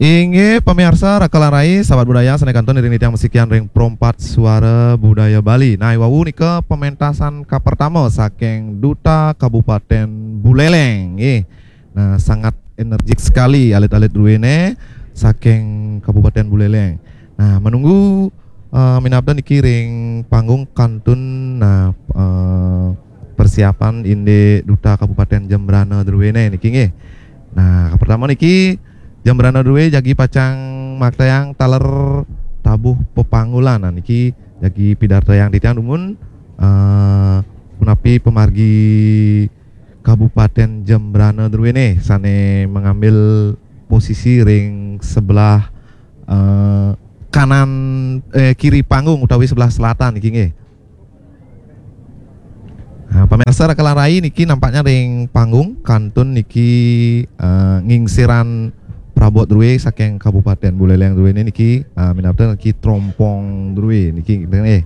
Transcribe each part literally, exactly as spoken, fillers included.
Inggih pamiarsa, raka lan rai, sahabat budaya, sané kantun iring titiang masikian ring Pro empat Suara Budaya Bali. Nah, iwau nika pementasan kapertama saking Duta Kabupaten Buleleng. Nggih. Nah, sangat energik sekali alit-alit druéné saking Kabupaten Buleleng. Nah, menunggu eh, minabda niki ring panggung kantun, nah, eh, persiapan indik Duta Kabupaten Jembrana druéné niki nggih. Nah, pertama niki Jembrana drué jagi pacang maktayang taler tabuh pepanggulan. Nah, niki jagi pidartayang titiang dumun eh, punapi pamargi Kabupaten Jembrana druéné sané mengambil posisi ring sebelah eh, kanan eh, kiri panggung utawi sebelah selatan niki nggih. Nah, pamiarsa raka lan rai niki nampaknya ring panggung kantun niki eh, ngingsiran prabot drué saking Kabupaten Buleleng druéné niki eh, minabda niki trompong drué niki nggih.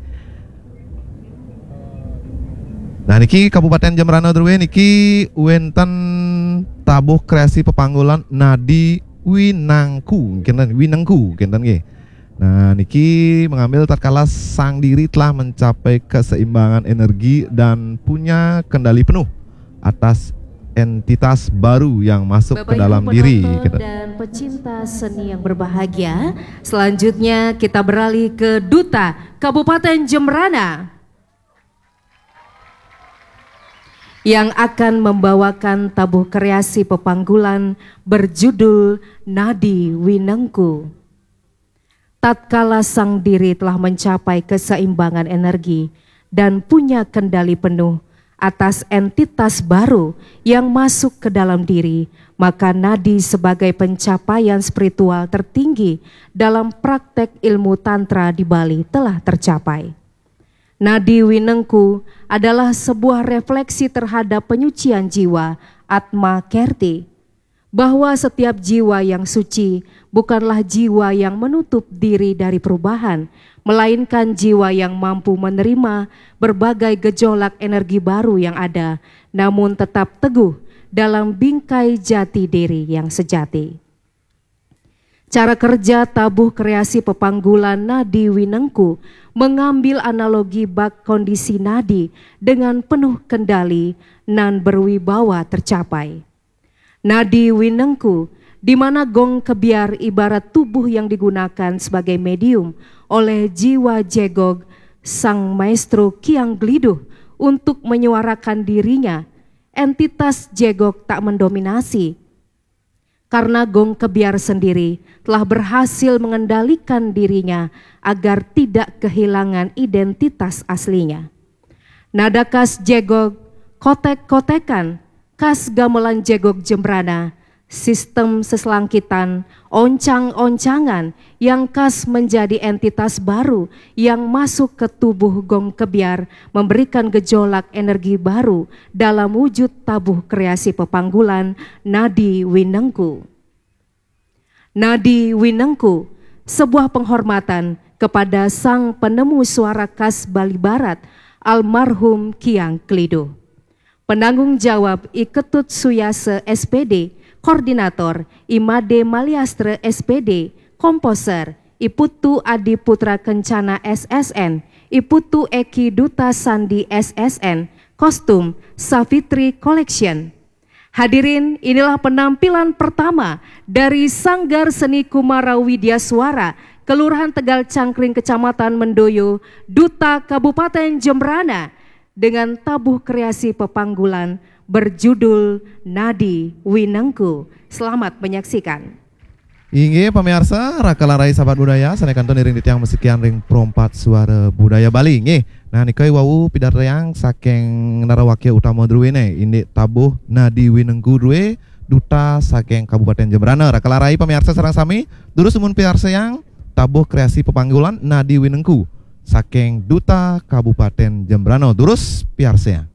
Nah, niki Kabupaten Jembrana drué niki wénten tabuh kreasi pepanggulan Nadi Winengku, kénten, Winengku, kénten nggih. Nah, niki mengambil tatkala sang diri telah mencapai keseimbangan energi dan punya kendali penuh atas entitas baru yang masuk ke Bapak dalam Ibu diri, penonton kénten. Dan pecinta seni yang berbahagia, selanjutnya kita beralih ke Duta Kabupaten Jembrana yang akan membawakan tabuh kreasi pepanggulan berjudul Nadi Winengku. Tatkala sang diri telah mencapai keseimbangan energi dan punya kendali penuh atas entitas baru yang masuk ke dalam diri, maka nadi sebagai pencapaian spiritual tertinggi dalam praktek ilmu tantra di Bali telah tercapai. Nadi Winengku adalah sebuah refleksi terhadap penyucian jiwa, Atma Kerti, bahwa setiap jiwa yang suci bukanlah jiwa yang menutup diri dari perubahan, melainkan jiwa yang mampu menerima berbagai gejolak energi baru yang ada, namun tetap teguh dalam bingkai jati diri yang sejati. Cara kerja tabuh kreasi pepanggulan nadi Winengku mengambil analogi bak kondisi nadi dengan penuh kendali nan berwibawa tercapai. Nadi Winengku, di mana gong kebyar ibarat tubuh yang digunakan sebagai medium oleh jiwa jegog sang maestro Kiang Geliduh untuk menyuarakan dirinya, entitas jegog tak mendominasi. Karena gong kebyar sendiri telah berhasil mengendalikan dirinya agar tidak kehilangan identitas aslinya. Nada khas jegog, kotek-kotekan, khas gamelan jegog Jembrana, sistem seselangkitan, oncang-oncangan yang khas menjadi entitas baru yang masuk ke tubuh gong kebyar, memberikan gejolak energi baru dalam wujud tabuh kreasi pepanggulan nadi Winengku. Nadi Winengku, sebuah penghormatan kepada sang penemu suara khas Bali Barat, almarhum Kiang Geliduh. Penanggung jawab I Ketut Suyasa S P D, koordinator I Made Maliastra S P D, komposer I Putu Adi Putra Kencana S S N, I Putu Eki Duta Sandi S S N, kostum Savitri Collection. Hadirin, inilah penampilan pertama dari Sanggar Seni Kumara Widya Suara, Kelurahan Tegal Cangkring, Kecamatan Mendoyo, Duta Kabupaten Jembrana, dengan tabuh kreasi pepanggulan berjudul Nadi Winengku. Selamat menyaksikan. Inggih pamiarsa, raka lan rai sahabat budaya, sané kantun iring titiang masikian ring Pro empat Suara Budaya Bali. Nggih. Nah, nika iwau pidartayang saking narawakya utama druéné, indik tabuh Nadi Winengku drué, duta saking Kabupaten Jembrana. Raka lan rai pamiarsa sareng sami, durus dumun piarsayang tabuh kreasi pepanggulan Nadi Winengku saking Duta Kabupaten Jembrana. Durus piarsayang.